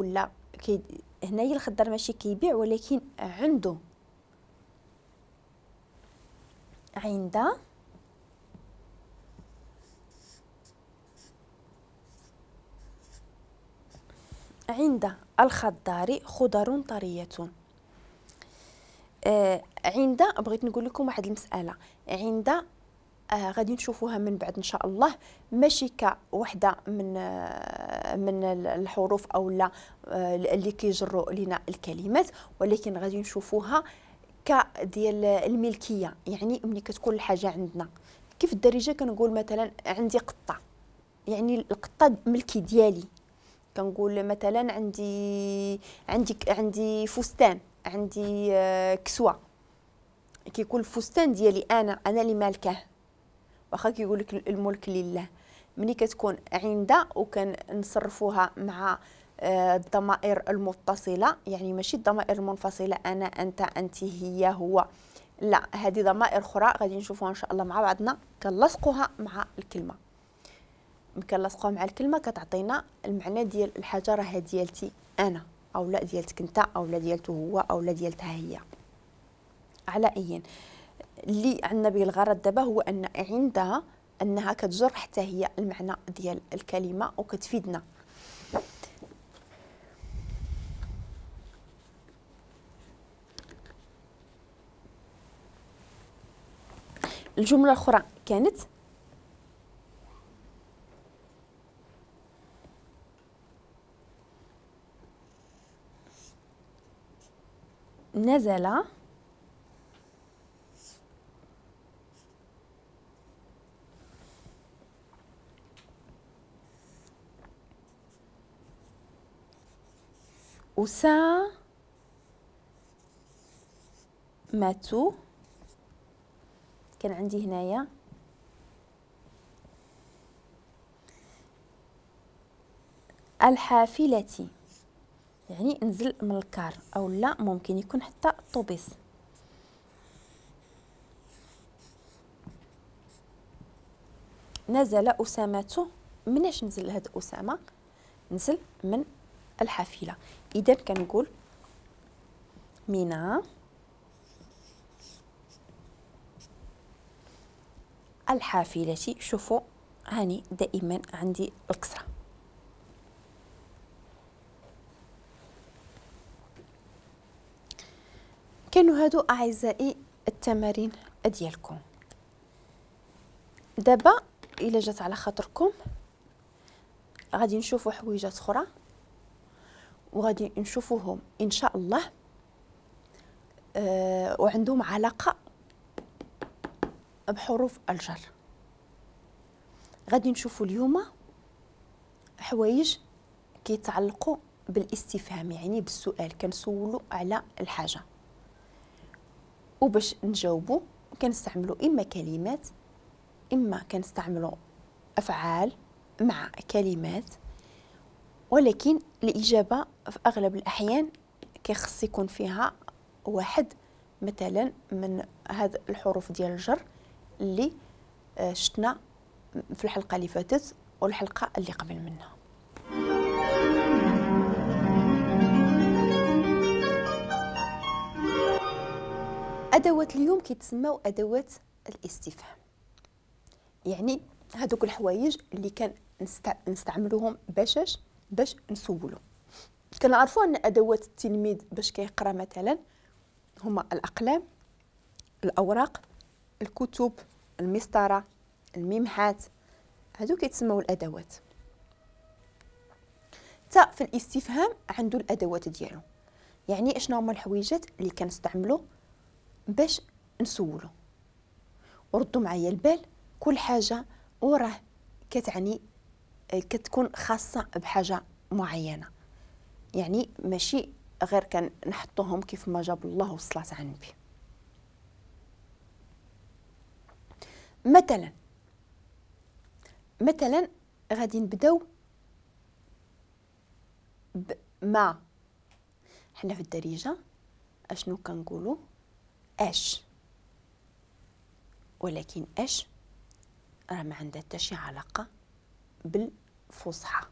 لا هنايا الخضار ماشي كيبيع ولكن عنده. عند عند الخضار خضر طرية. عند بغيت نقول لكم واحد المسألة، عند غادي نشوفوها من بعد ان شاء الله، ماشي كوحده من الحروف او لا اللي كيجروا لنا الكلمات، ولكن غادي نشوفوها كديال الملكية، يعني ملي كتكون الحاجة عندنا. كيف الدارجة كنقول مثلا عندي قطة، يعني القطة ملكي ديالي. كنقول مثلا عندي عندي عندي فستان، عندي كسوه، كيكون الفستان ديالي انا اللي مالكاه، واخا كيقول لك الملك لله. ملي كتكون عند وكنصرفوها مع الضمائر المتصلة، يعني ماشي الضمائر المنفصلة انا انت انت هي هو، لا هذه ضمائر اخرى غادي نشوفوها ان شاء الله مع بعضنا. كنلصقوها مع الكلمة، كنلصقوها مع الكلمة كتعطينا المعنى ديال الحاجة راه ديالتي انا او لا ديالتك انت او لا ديالته هو او لا ديالتها هي. على اي اللي عندنا به الغرض دابا هو ان عندها انها كتجر حتى هي المعنى ديال الكلمة وكتفيدنا. الجملة الاخرى كانت نزل أسامة كان عندي هنايا الحافلة، يعني نزل من الكار او لا ممكن يكون حتى الطوبيس. نزل أسامة، مناش نزل هاد أسامة؟ نزل من الحافلة. إذا كنقول من الحافلة. شوفوا هاني دائما عندي الكسرة. كانوا هادو أعزائي التمارين ديالكم. دابا إلا جات على خاطركم غادي نشوفوا حويجات أخرى وغادي نشوفوهم إن شاء الله وعندهم علاقة بحروف الجر. غادي نشوفوا اليوم حوايج كيتعلقوا بالاستفهام، يعني بالسؤال، كنسولوا على الحاجة وباش نجاوبوا كنستعملوا إما كلمات إما كنستعملوا أفعال مع كلمات، ولكن الإجابة في أغلب الأحيان كيخص يكون فيها واحد مثلا من هاد الحروف ديال الجر اللي شفنا في الحلقة اللي فاتت والحلقة اللي قبل منها. أدوات اليوم كيتسموا أدوات الاستفهام، يعني هادوك الحوايج اللي كان نستعملوهم باش نسولو. كنعرفوا ان ادوات التلميذ باش كيقرا مثلا هما الاقلام، الاوراق، الكتب، المسطره، الممحات، هادو كيتسموا الادوات. حتى في الاستفهام عنده الادوات ديالو، يعني اشنو هما الحويجات اللي كنستعملو باش نسولو. وردوا معايا البال، كل حاجة وراه كتعني كتكون خاصة بحاجة معينة، يعني ماشي غير كنحطوهم كيف ما جاب الله والصلاة على النبي. مثلا غادي نبداو بما. حنا في الدارجة اشنو كنقولوا؟ اش، ولكن اش راه ما عندها حتى شي علاقة بالفصحى.